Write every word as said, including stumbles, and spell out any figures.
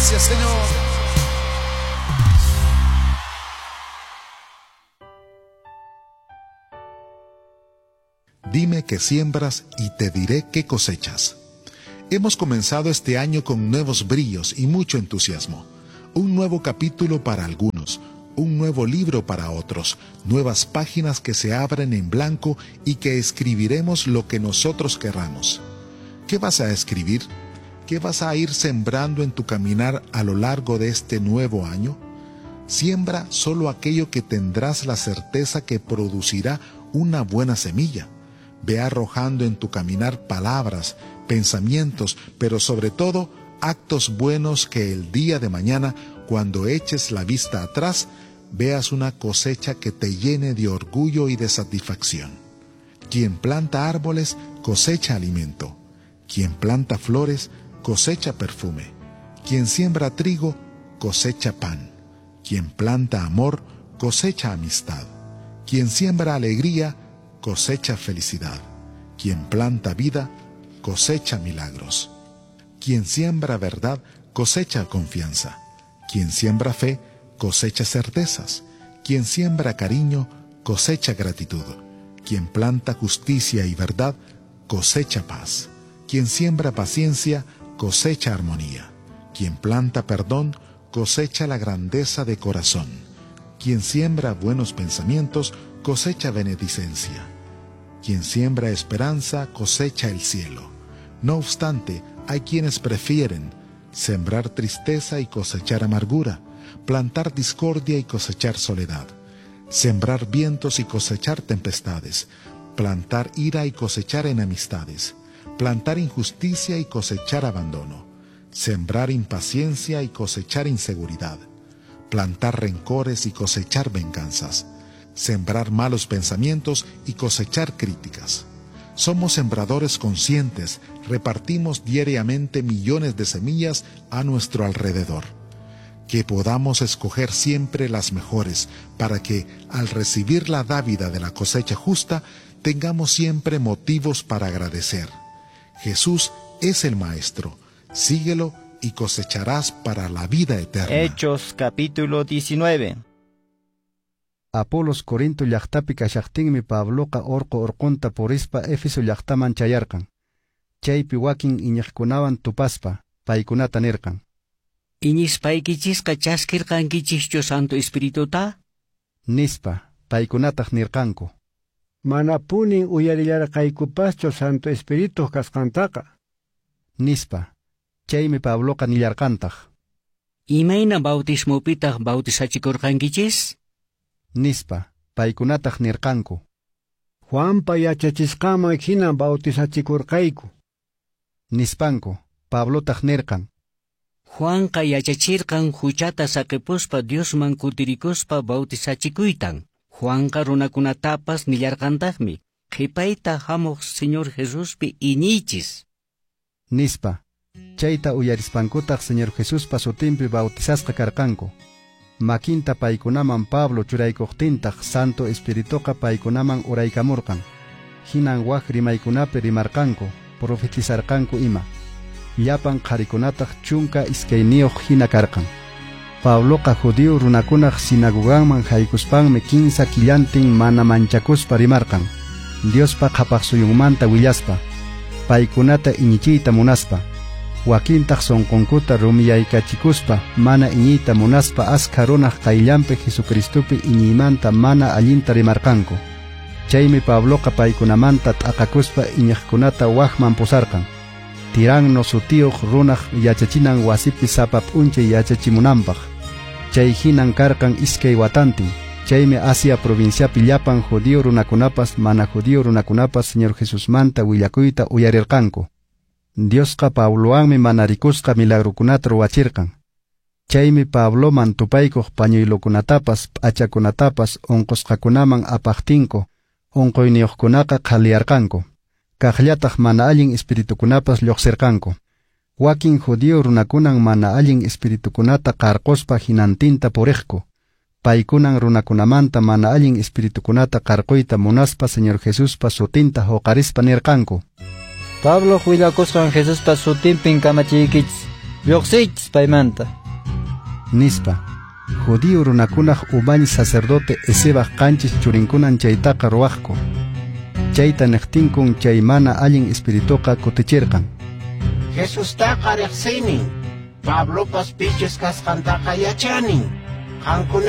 Gracias, Señor. Dime qué siembras y te diré qué cosechas. Hemos comenzado este año con nuevos brillos y mucho entusiasmo. Un nuevo capítulo para algunos, un nuevo libro para otros, nuevas páginas que se abren en blanco y que escribiremos lo que nosotros querramos. ¿Qué vas a escribir? ¿Qué vas a ir sembrando en tu caminar a lo largo de este nuevo año? Siembra solo aquello que tendrás la certeza que producirá una buena semilla. Ve arrojando en tu caminar palabras, pensamientos, pero sobre todo actos buenos que el día de mañana, cuando eches la vista atrás, veas una cosecha que te llene de orgullo y de satisfacción. Quien planta árboles, cosecha alimento. Quien planta flores, cosecha perfume. Quien siembra trigo, cosecha pan. Quien planta amor, cosecha amistad. Quien siembra alegría, cosecha felicidad. Quien planta vida, cosecha milagros. Quien siembra verdad, cosecha confianza. Quien siembra fe, cosecha certezas. Quien siembra cariño, cosecha gratitud. Quien planta justicia y verdad, cosecha paz. Quien siembra paciencia, cosecha armonía. Quien planta perdón, cosecha la grandeza de corazón. Quien siembra buenos pensamientos, cosecha benedicencia. Quien siembra esperanza, cosecha el cielo. No obstante, hay quienes prefieren sembrar tristeza y cosechar amargura, plantar discordia y cosechar soledad, sembrar vientos y cosechar tempestades, plantar ira y cosechar enemistades, plantar injusticia y cosechar abandono, sembrar impaciencia y cosechar inseguridad, plantar rencores y cosechar venganzas, sembrar malos pensamientos y cosechar críticas. Somos sembradores conscientes, repartimos diariamente millones de semillas a nuestro alrededor. Que podamos escoger siempre las mejores para que, al recibir la dávida de la cosecha justa, tengamos siempre motivos para agradecer. Jesús es el Maestro. Síguelo y cosecharás para la vida eterna. Hechos capítulo diecinueve. Apolos Corinto llaqtapi kashaqtinmi Pabloqa orqo orqonta purispa Éfeso llaqtaman chayarqan. Chaypi wakin iñiqkunawan tupaspa paykunata nirqan: Iñispaykichisqa chaskirqankichischu Santo Espirituta? Nispa, paykunataq nirqanku: Manapunin uyarillarqaykupaschu Santo Espíritu kasqantaqa. Nispa. Chaymi Pabloqa nillarqantaq: Imayna bautismopitaq bautizachikurqankichis? Nispa, paykunataq nirqanku: Juanpa yachachisqanman hina bautizachikurqayku. Nispanku, Pablotaq nirqan: Juanqa yachachirqan huchata saqipuspa Diosman kutirikuspa bautizachikuytan. Juanqa runakunatapas nillarqantaqmi: Qhipayta hamuq Señor Jesuspi iñiychis. Nispa, chayta uyarispankutaq Señor Jesuspa sutinpi bautizasqa karqanku. Makinta paykunaman Pablo churaykuqtintaq Santo Espirituqa paykunaman uraykamurqan. Hinan wak rimaykunapi rimarqanku, profetizarqanku ima. Llapan qharikunataq chunka iskayniyuq hina karqan. Pabloqa judío runakunaq sinagoganman haykuspanmi kinsa killantin mana manchakuspa rimarqan. Diospa qhapaqsuyunmanta willaspa, paykunata iñichiyta munaspa. Wakintaq sonqonkuta rumiyaykachikuspa mana iñiyta munaspa askha runaq qayllanpi Jesucristopi iñiymanta mana allinta rimarqanku. Chaymi Pabloqa paykunamanta t'aqakuspa iñiqkunata wakman pusarqan. Tiranno sutiyuq runaq yachachinan wasipi sapa p'unchay yachachimunanpaq. Chay hinan karqan iskay watantin. Chaymi Asia provinciapi llapan judío runakunapas mana judío runakunapas Señor Jesusmanta willakuyta uyarirqanku. Diosqa Pablowanmi mana rikusqa milagrukunata ruwachirqan. Chaymi Pabloman tupaykuq pañuylukunatapas p'achakunatapas unqusqakunaman apaqtinku, unquyniyuqkunaqa qhaliyarqanku. Kaqllataq mana allin espiritukunapas lluqsirqanku. Wakin judío runakunan mana allin espiritukunata qarquspa hinantinta puriqku. Paykunan runakunamanta mana allin espiritukunata qarquyta munaspa Señor Jesuspa sutinta huqarispa nirqanku: Pablo willakusqan Jesuspa sutinpin kamachiykichis, Lluqsiychis paymanta. Nispa. Judío runakunaq umalli sacerdote Escevaq qanchis churinkunan chaytaqa ruwaqku. Chayta niqtinkun chay mana allin espirituqa kutichirqan. Jesustaqa riqsinin. Pablopas pichus kasqantaqa yachanin. Qamkuna